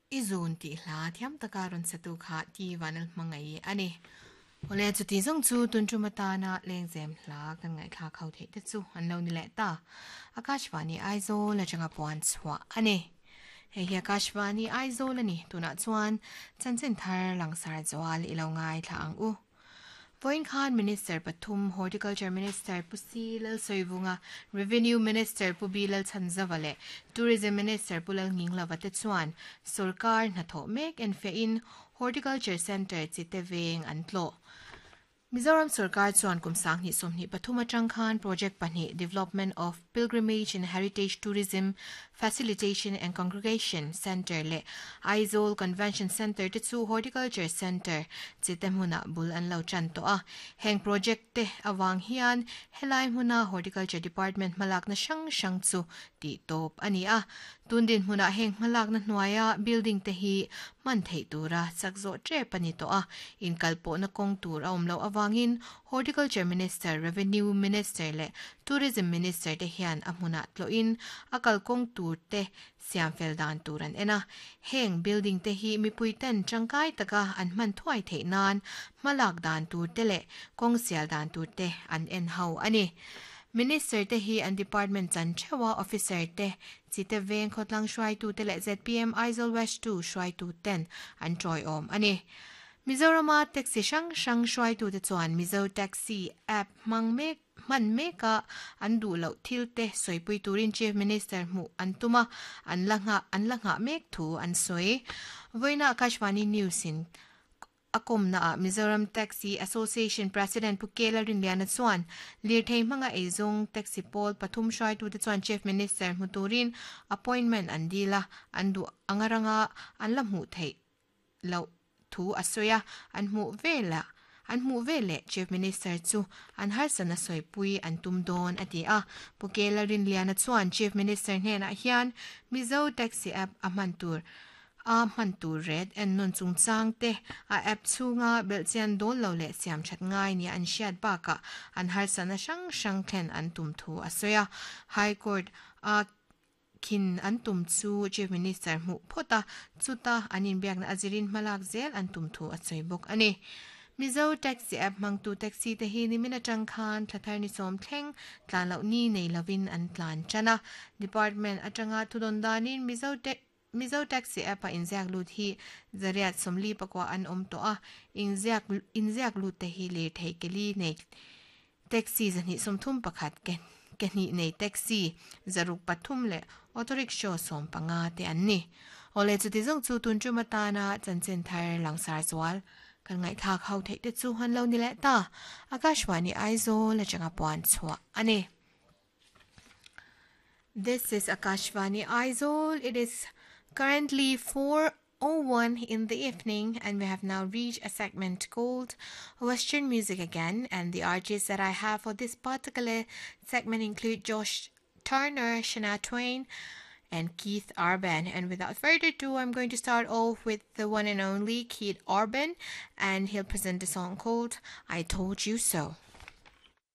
I zun tih hla thiam taka rawn satu kha Ti Vanlalhmangaih a ni. Awle, chuti zawng chu tun tum atana lengzem hla kan ngaihthlak ho theih te chu an lo ni leh ta. Akashvani Aizawl atanga puan chhuah a ni. Hei hi Akashvani Aizawl a ni. Tunah chuan chanchin thar langsar zual i lo ngaithla ang u. Vawiin khan Minister pathum, Horticulture Minister Pu Si Lalsawivunga, Revenue Minister Pu B Lalchhanzava leh Tourism Minister Pu Lalnginglova te chuan sawrkar hnathawh mek enfiahin Horticulture Centre Chite veng an tlawh. Mizoram sawrkar chuan kum 2023 atang khan project pahnih Development of Pilgrimage and Heritage Tourism Facilitation and Congregation Centre leh Aizawl Convention Centre te chu Horticulture Centre chite hmunah bul an lo tan tawh a. Heng project te avang hian helai hmuna Horticulture Department hmalakna hrang hrang chu tih tawp a ni a. Tun dinhmunah heng hmalakna hnuaia building te hi hman theih tura chak zawh tep a ni tawh a. Inkalpawhna kawng tur a awm loh avangin Horticulture Minister, Revenue Minister leh Tourism Minister te hian a hmunah tlawhin a kalkawng tur te siam fel dan tur an en a. Heng building te hi mipui ten tangkai taka an hman thuai theih nan hmalak dan tur te leh kawng sial dan tur te an en ho a ni. Minister te hi an department chan theuha officer te, Chite Veng khawtlang hruaitu te leh zpm Aizawl West 2 hruaitu ten an tawiawm a ni. Mizorama taxi hrang hrang hruaitute chuan Mizo Taxi app hmang mek hman meka an duh loh thil te sawipui turin Chief Minister hmuh an tum a, an la nghah an la nghah mek thu an sawi. Vawiina Akashvani News in a kawmna ah Mizoram Taxi Association President Pu Kela Rinliana chuan lirthei hmanga eizawng taxi pawl pathum hruaitute chuan Chief Minister hmu turin appointment an dil a, an duh anga ranga an la hmuh theih loh thu a sawi a, an hmuh velah an hmuh veleh Chief Minister chu an harsatna sawipui an tum dawn a ti a. Pu Kela Rinliana chuan Chief Minister hnenah hian Mizo Taxi App a hman tur a hman tur ret ennawn chungchang te a app chhunga belhchian dawl lo leh siam that ngai nia an hriat bakah an harsatna hrang hrang thlen an tum thu a sawi a. High Court a Khin an tum chu Chief Minister hmuh phawt a, chuta an inbiakna a zirin hmalak zel an tum thu a sawi bawk a ni. Mizo Taxi app hmangtu taxi te hi nimin atang khan thla thar ni sawm thleng tlan loh ni nei lovin an tlan tan a. Department atanga thudawn danin Mizo Mizo Taxi app a inziak lut hi zariat sawmli pakua an awm tawh a, inziak inziak lut te hi lirthei keli nei Taxi 231 ke ke hnih nei taxi 603 leh auto rickshaw 15 te an ni. Awle chuti zawng chu tun tum atana chanchin thar langsar zual kan ngaihthlak ho theih te chu an lo ni leh ta. Akashvani Aizawl atanga puan chhuah a ni. This is Akashvani Aizawl. It is currently 4:01 in the evening and we have now reached a segment called Western Music Again, and the artists that I have for this particular segment include Josh Turner, Shania Twain, and Keith Urban. And without further ado, I'm going to start off with the one and only Keith Urban, and he'll present a song called I Told You So.